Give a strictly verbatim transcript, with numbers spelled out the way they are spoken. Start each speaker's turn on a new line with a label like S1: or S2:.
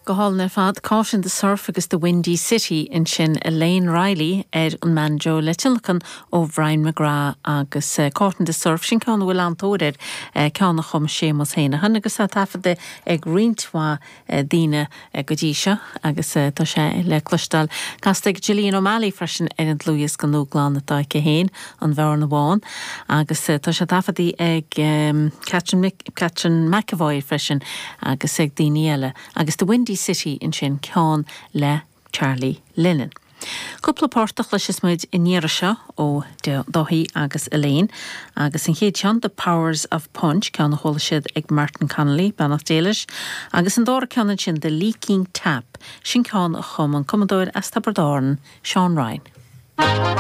S1: Go hálainn ar fad Caught in the Surf agus The Windy City ansin Elaine Riley ar an mbanjo le tionlacan ó Brian McGrath agus uh, Caught in the Surf sin ceann a bhfuil an-tóir air uh, ceann a chum Séamus Heneghan agus tá taifeadta ag roinnt mhaith uh, daoine uh, go dtí seo agus uh, tá sé le cloisteáil. Casta ag Gillian O'Malley freisin ar an dlúthdhiosca nua atá aici féin an Bhearna Bhán agus uh, tá sé taifeadta ag um, Catherine, Catherine McAvoy freisin agus ag daoine eile agus The Windy City ansin ceann le Charlie Lennon. Cúpla port a chloisfidh muid an iarraidh seo ó Dáithí agus Elaine, agus an chéad ceann The Powers of Punch ceann a chuala siad ag Martin Connolly beannacht Dé leis, agus an dara ceann sin The Leaking Tap, sin ceann a chum an cumadóir as Tiobraid Árann, Seán Ryan.